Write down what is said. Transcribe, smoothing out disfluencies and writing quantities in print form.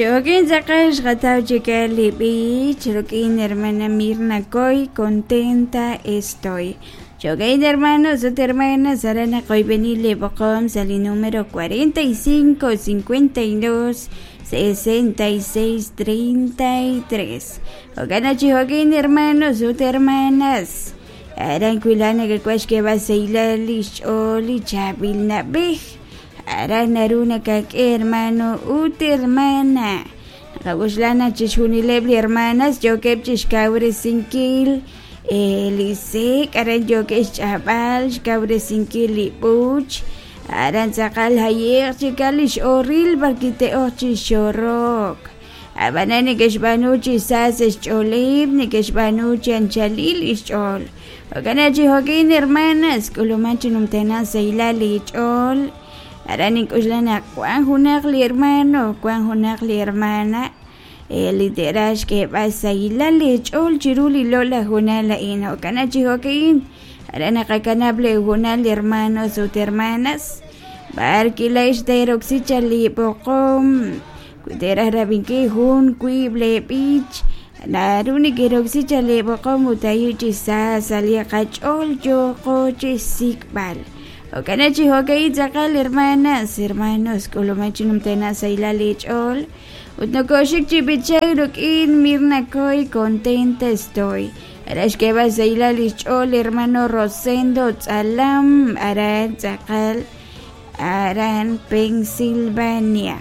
Jo'kin tz'aqal xqataw chikal li b'ich rik'in hermana Mirna Coy, contenta estoy. Jo'kin hermanos ut hermanas, aran naqoyb'eni li b'oqom sa' li número 45 52 66 33. Jo'kan chi jo'kin hermanos ut hermanas, aran wilaj nakak'uaj xk'eeb'al xsahilal li xch'ool li chaab'il na'b'ej. Aran naru nakak'e hermano ut hermana. Naqak'oxla naq chixjunileb' li hermanas yookeb' chixkawresinkil li sek', aran yookeb' xch'ab'al, xkawresinkil li b'uch, aran tz'aqal jaye'q chikal li x'oril b'arwi' te'oq chi xorok. Ab'anan neke'xb'aanu chi sa sa' xch'ooleb', neke'xb'aanu chi anchalil li xch'ool. Jo'kan naq chi jo'kin hermanas, k'uluman chi numtajenaq sahilal li ch'ool. Aran nink'oxla naq wank junaq li hermano, wank junaq li hermana li te'raj xk'eeb'al sahilal li ch'ool chiru li loq'laj hoonal a'in. Jo'kan naq chi jo'kin, aran naqakanab' li hoonal hermanos ut hermanas, b'ar kilaa'ex teeroksi chaq li b'oqom, wi teeraj rab'inkil jun, wiib' lee b'ich, naru nekeroksi chaq lee b'oqom ut ayu' chi sa sa' li qach'ool yooqo chixsik'b'al. Jo'kan naq chi jo'ka'in tz'aqal hermanas, hermanos, k'uluman chi numtajenaq sahilal li ch'ool ut nokoxik chi b'ichank rik'in Mirna Coy, contenta estoy. Aran xk'eeb'al sahilal li xch'ool hermano Rosendo Tz'alam, aran tz'aqal, aran Pensilvania.